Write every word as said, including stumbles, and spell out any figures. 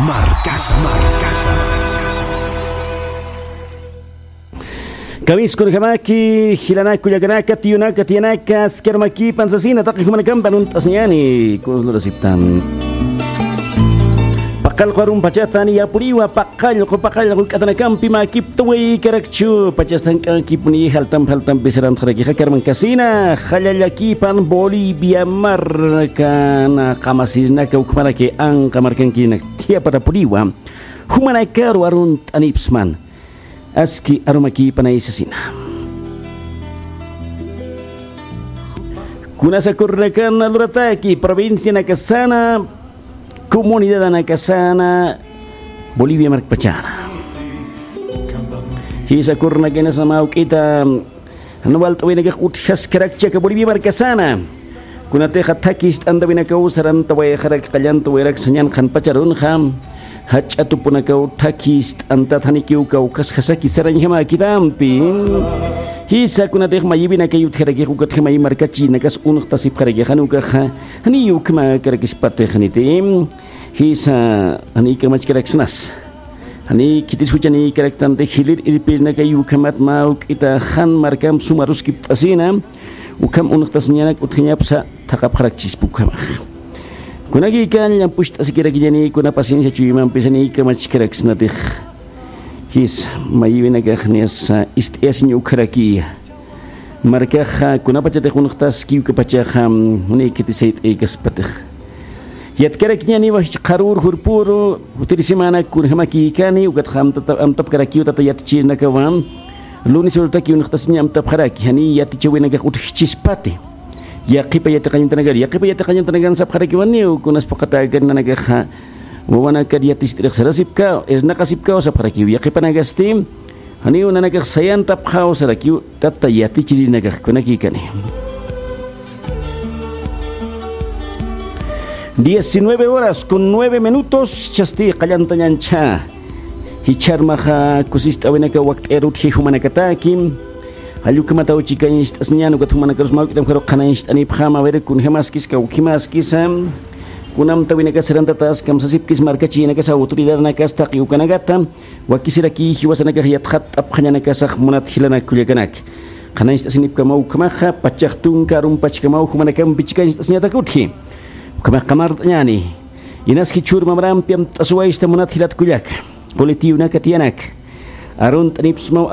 Markasa, markasa. Kamiskunjamaki, jilanaka, kullakanaka, tiyunaka, tiyanaka, askar makipan sasina, taqi jumanakampi arunt'asiñani, kunslurasiptan. Paqallqu arumpachatan, yapuriwa, paqallqu, paqallqu, k'atanakampi makiptaway karakchu, pachastan k'akipuni, jaltam, jaltampi sarantxarakixa, karman kasina, jallallakipan, Bolivia markana, qamasirinaka, ukmaraki, anqa markankinak, thiyapatapuriwa, jumanakaru arunt'anipsman. Aski arumakipanay sasina. Kunasakurnakan lurataki, provincianakasana, comunidadanakasana, Bolivia markpachana. Jisakurnakanasa mä juk'ita, jan walt'awinakax utjaskarakchi aka Bolivia markasana. Kunatixa thakist'antawinakaw sarantawayxarak, qallantawayrak sañan qhanpacharunxa, jach'a tupunakaw thakist'antat janikiw kawkhasjasaki sarañjamäkitampi. Jisa kunatix mayiwinakay utjarakix ukatxa mayi markachinakas unxtasipxarakix, jan ukaxa, janiy ukhamäkarakispatix janiti. Jisa, janiy kamachkaraksnas. Janiy khitis juchanïkaraktanti, jilir irpirinakay ukhamat mä juk'ita jan markamp suma aruskipt'asina, ukham unxtasiñanak utjañapsa thaqhapxarakchispa ukhamax. Kunakïkan llampucht'asikirakiñani, kuna paciencia chuymampis janiy kamachkaraksnatix. Jisa, mayiwinakax niyasa ist'ayasiñ ukharakiya. Markaxa, kunapachatix unxtaski ukapachaxa, janiy khitis sayt'aykaspatix. Yatkarakiñaniwa jichha qharür jurpüru, jutiri semana kunjamakïkani, ukatxa amtata-, amtapkarakiw tata yatichirinakawa, lunes urutaki unxtasiña amtapxaraki, janiy yatichäwinakax utjchispati. Yaqhipa yatiqañutanakar, yaqhipa yatiqañutanakan sapxarakiwaniw, kunas phuqhatäkar nanakaxa, wawanakar yaticht'irix sarasipkaw, irnaqasipkaw sapxarakiw, yaqhipanakasti, janiw nanakax sayantapxaw sarakiw, tata yatichirinakax kunakïkani. Diecinueve horas con nueve minutos, chasti qallantañancha. Jichharmaxa kusist'awinaka wakt'ayar utji jumanakataki. Jall ukhamataw chikañcht'asiñan, ukat jumanakarus mä juk'itam jaru qhanañcht'anipxam, a ver, kunjamaskis, kawkhimaskisa. Kunamtawinakas sarantatas kamsasipkis markachinakas, autoridadnakas taqi ukanakata. Wakisiraki jiwasanakax yatxatt'apxañanakasax munat jilanak kullakanaka. Qhanañcht'asinipkamaw ukhamaxa, pachax tunka arumpachkamaw jumanakampi chikañcht'asiñatak utji. Ukhamax qamart'añäni. Inaski chhür mamarampi amt'asiwaysta munat jilat kullaka. Quli tiyunaka tiyanaka. Arunt'anipsmaw